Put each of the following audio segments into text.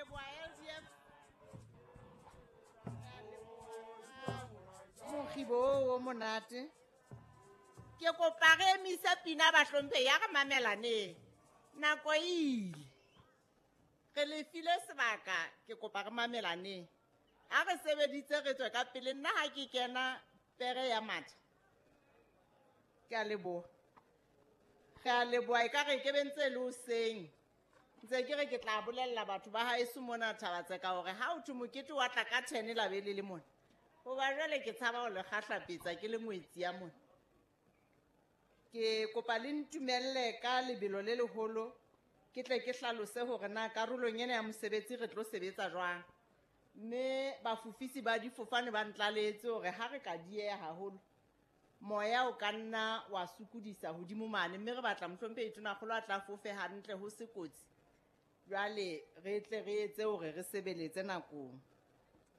leboha LDF. Re a leboha mokgibo oo o monate. Ke kopa re emise pina bahlomphehi ya re mamelaneng. Nako e ile. Re le file sebaka ke kopa re mamelaneng. Ha re sebeditse re tswe ka pele nna ha ke kena pere ya matha. Ke a leboha. Re a leboha ekare ke be ntse le hoseng. Ntse ke re ke tla bolella batho ba haeso mona Thaba-Tseka hore ha ho thwe mokete wa tla ka 10 la be le le mona. Hoba jwale ke tshaba ho le kgahlapetsa ke le ngwetsi ya mona. Ke kopa le ntumelle ka lebelo le leholo ke tle ke hlalose hore na karolong ena ya mosebetsi re tlo sebetsa jwang. Mme bafofisi ba difofane ba ntlaletse hore ha re ka dieha haholo moya o ka nna wa sokodisa hodimo mane, mme re batla mohlomphehi Tonakgolo a tla fofe hantle ho se kotsi. Jwale re tle re etse hore re sebeletse nakong.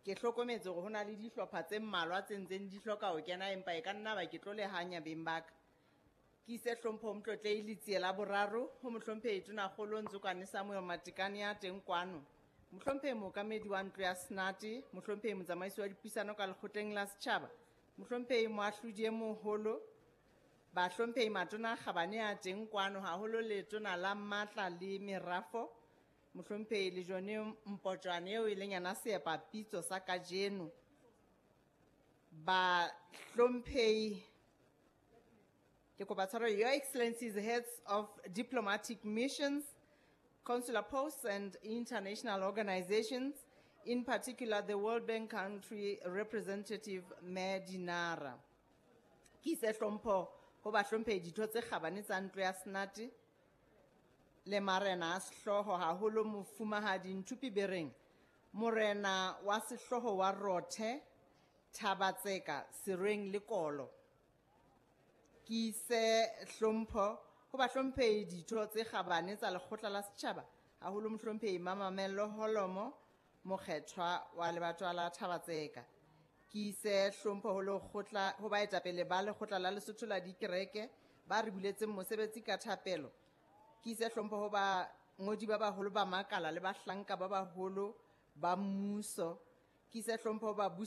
Ke hlokometse hore ho na le dihlopha tse mmalwa tse ntseng di hloka ho kena, empa e ka nna ba ke tlo le hanya beng ba ka. Ke ise hlompho ho Motlotlehi Letsie la boraro ho mohlomphehi Tonakgolo Ntsokwane Samuel Matekane ya teng kwano. Mohlomphehi mookamedi wa ntlo ya Senate, mohlomphehi motsamaisi wa dipuisano ka lekgotleng la setjhaba, mohlomphehi moahlodi e moholo, bahlomphehi matona a kgabane a teng kwano haholo letona la matla le merafo, mohlomphehi Lejone Mpotjwane eo e leng yena seepapitso sa kajeno. Bahlomphehi, ke kopa tshwarelo, Your Excellencies, heads of diplomatic missions, consular posts and international organizations, in particular the World Bank country representative Medinara. Ke ise hlompho ho bahlomphehi ditho tse kgabane tsa ntlo ya Senate le marena a sehlooho haholo mofumahadi Nthupi Bereng, morena wa sehlooho wa Rothe, Thaba-Tseka, Serweng le Kolo. Ke ise hlompho ho bahlomphehi ditho tse kgabane tsa lekgotla la setjhaba haholo mohlomphehi Mamamello Holomo, mokgethwa wa lebatowa la Thaba-Tseka. Ke ise hlompho ho lekgotla, ho baetapele ba lekgotla la Lesotho la dikereke ba re buletseng mosebetsi ka thapelo. Ke ise hlompho ho bangodi ba baholo ba makala le bahlanka ba baholo ba mmuso. Ke ise hlompho ho babusi